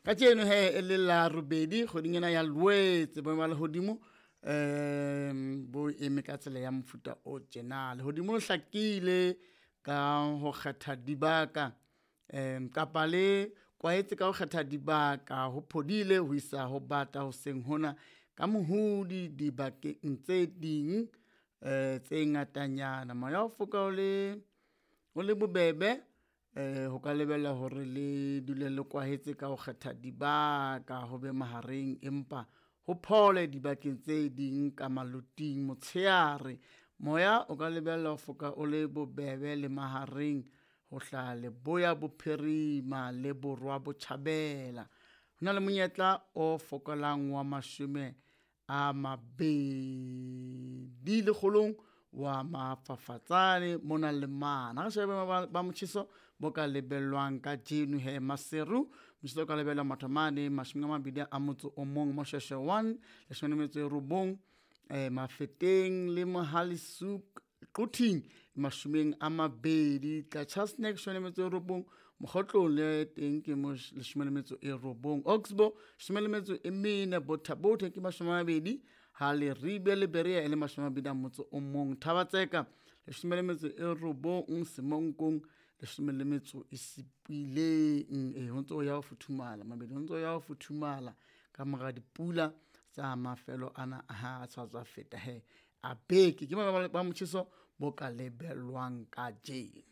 Kajeno he e le la robedi kgweding ena ya Lwetse, boemo ba lehodimo bo eme ka tsela ya mofuta o tjena. Lehodimo le hlakile ka ho kgetha dibaka, kapa le kwaetse ka ho kgetha dibaka, ho phodile ho isa ho bata hoseng hona ka mohodi dibakeng tse ding tse ngatanyana. Moya o foka o le bobebe, ho ka lebella hore le dule le kwahetse ka ho kgetha dibaka ho be mahareng, empa ho phole dibakeng tse ding ka maloting. Motsheare moya o ka lebella ho foka o le bobebe le mahareng ho hlaha leboya bophirima le borwa botjhabela. Ho na le monyetla o fokolang wa 20 lekgolong wa mafafatsane mona le mane. Ha re shebe boemo ba motjheso bo ka lebellwang kajeno he. Maseru motjheso o ka lebellwa mathomane 21, Moshweshwe 1 19, Mafeteng le Mohale's Hoek Quthing 20, Qacha's Nek 19, Mokhotlong le teng ke 19, Oxbow 14, Botha Bothe ke 20, ha Leribe le Berea e le 21, Thaba-Tseka 19, Semonkong 17. Ho ntso ya ho futhumala mabedi, ho ntso ya ho futhumala ka mora dipula tsa mafelo ana ha a sa tswa feta he a beke. Ke boemo ba motjheso bo ka lebellwang kajeno.